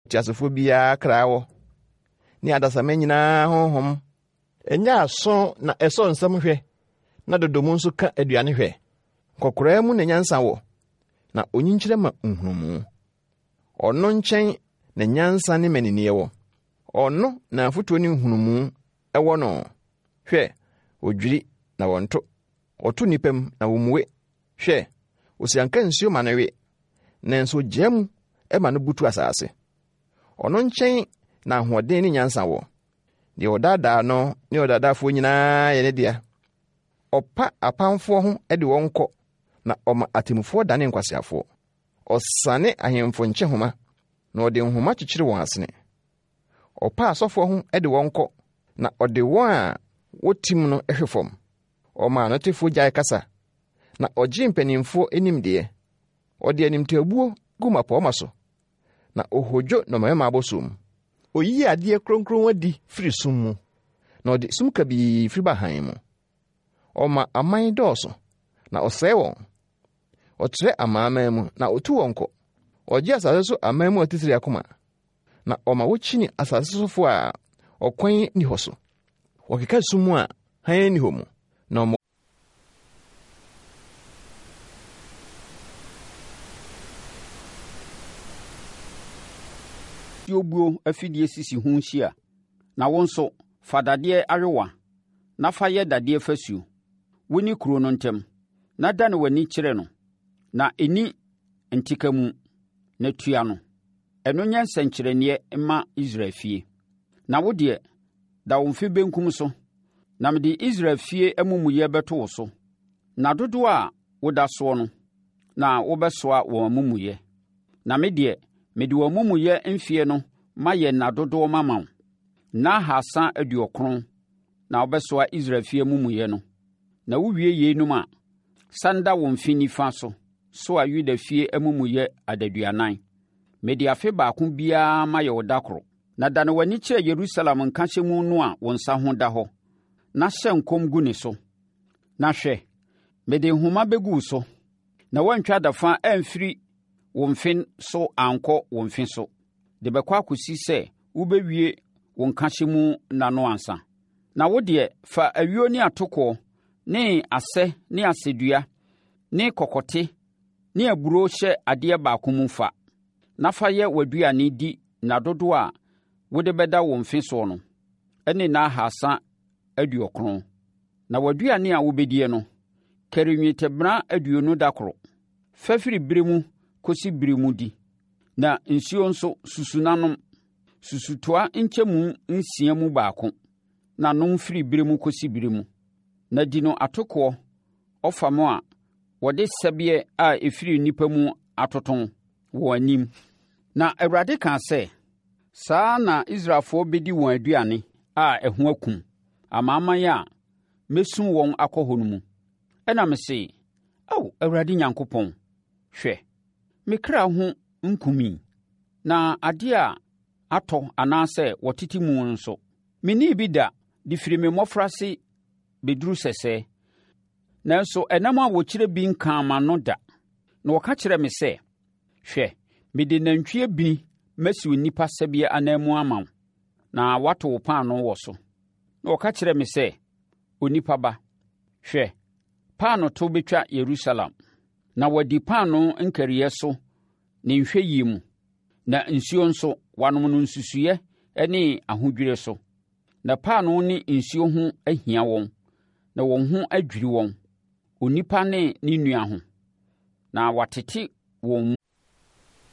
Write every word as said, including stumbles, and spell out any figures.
Teasefoɔ biara kra wɔ, ne adasamma nyinaa honhom. Ɛnyɛ aso na ɛsɔ nsɛm hwɛ, na dodomu nso ka aduane hwɛ. Nkɔkoraa mu na nyansa wɔ, na onyinkyerɛ ma nhunumu. Ɔno nkyɛn na nyansa ne mmaninneɛ wɔ. Ɔno na afotuo ne nhunumu wɔ no. Hwɛ, odwiri na wɔnto. Ɔto nnipa mu na wommue. Hwɛ, osianka nsuo ma no we, nanso ogyaa mu ma no butu asase. Ɔno nkyɛn na ahoɔden ne nyansa wɔ. Deɛ ɔdaadaa no ne ɔdaadaafoɔ nyinaa yɛ ne dea. Ɔpa apamfoɔ ho de wɔn kɔ, na ɔma atemmufoɔ dane nkwaseafoɔ. Ɔsane ahemfo nkyehoma, na ɔde nhoma kyekyere wɔn asene. Ɔpa asɔfoɔ ho de wɔn kɔ, na ɔde wɔn a wotim no hwe fam. Ɔma anotefoɔ gyae kasa, na ɔgye mpanimfoɔ nimdeɛ. Ɔde animtiabuo gu mmapɔmma so, na ohodwo nnɔmmarima abɔsoɔ mu. Oyi adeɛ kronkron adi firi sum mu, na ɔde sum kabii firi ba hann mu. Ɔma aman dɔɔso, na ɔsɛe wɔn. Ɔtrɛ amanaman mu, na otu wɔn kɔ. Ɔgye asase so aman mu atitire akoma, na ɔma wokyini asase sofo a ɔkwan nni hɔ so. Wɔkeka sum mu a hann nni hɔ mu, na ɔma Buo afidie sisi ho hyia. Na wo nso, fa dadeɛ ayowa na fa yɛ dadeɛ fasuo, wo ne kuro no ntam, na dane w'ani kyerɛ no, na ɛnni ntekamu, na tua no. Ɛno nyɛ nsɛnkyerɛnneɛ mma Israel fie. Na wo deɛ, da wo mfe benkum so, na mede Israel fie amumuyɛ bɛto wo so. Nna dodoɔ a woda soɔ no, na wobɛsoa wɔn amumuyɛ. Na me deɛ, mede wɔn amumuyɛ mfeɛ no mayɛ nna dodoɔ mama wo. Nna ahasa aduɔkron na wobɛsoa Israel fie amumuyɛ no. Na wowie yeinom a, sane da wo mfe nifa so soa Yuda fie amumuyɛ adaduanan. Mede afe baako biara mayɛ wo da koro. Na dane w'ani kyerɛ Yerusalem nkahyɛmu no a wo nsa ho da hɔ, na hyɛ nkɔm gu ne so. Na hwɛ, mede nhoma bɛgu wo so, na woantwa adafa amfiri wo mfe so ankɔ wo mfe so, de bɛkɔ akɔsi sɛ wobɛwie wo nkahyɛmu nna no ansa. Na wo deɛ, fa ayuo ne atokoɔ ne asɛ ne asɛdua ne kɔkɔte ne aburoo hyɛ adeɛ baako mu fa, na fa yɛ w'aduane di nna dodoɔ a wode bɛda wo mfe soɔ no, ne nna ahasa aduɔkron. Na w'aduane a wobɛdie no, kari nnwetɛbena aduonu da koro. Fa firi berɛ mu kɔsi berɛ mu di. Na nsuo nso, susu na nom. Susutoa nkyɛmu nsia mu baako na nom firi berɛ mu kɔsi berɛ mu. Na di no atokoɔ ɔfam a wɔde sɛbeɛ a ɛfiri nnipa mu atoto wɔ anim. Na Awurade kaa sɛ, Saa ara na Israelfoɔ bɛdi wɔn aduane a ɛho akum amanaman a mɛsum wɔn akɔ hɔ no mu. Ɛnna mese, Ao, Awurade Nyankopɔn, hwɛ, me kra ho nkumii, na adeɛ a atɔ anaasɛ wɔtete mu nso, mennii bi da de firi me mmɔfraase bɛduru sɛsɛɛ. Nanso ɛnam a wɔkyerɛ bi nkaa m'ano da. Na wɔka kyerɛɛ me sɛ, Hwɛ, mede nantwie bini masi onipa sɛbeɛ ananmu ama wo, na woato wo paanoo wɔ so. Na ɔka kyerɛɛ me sɛ, Onipa ba, hwɛ, paanooto bɛtwa Yerusalem, na wɔadi paanoo nkariiɛ so ne nhwɛyie mu, na nsuo nso, wɔanom no nsusuiɛ ne ahodwirie so. Na paanoo ne nsuo ho ahia wɔn, na wɔn ho adwiri wɔn, onipa ne ne nua ho, na wɔatete wɔn mu.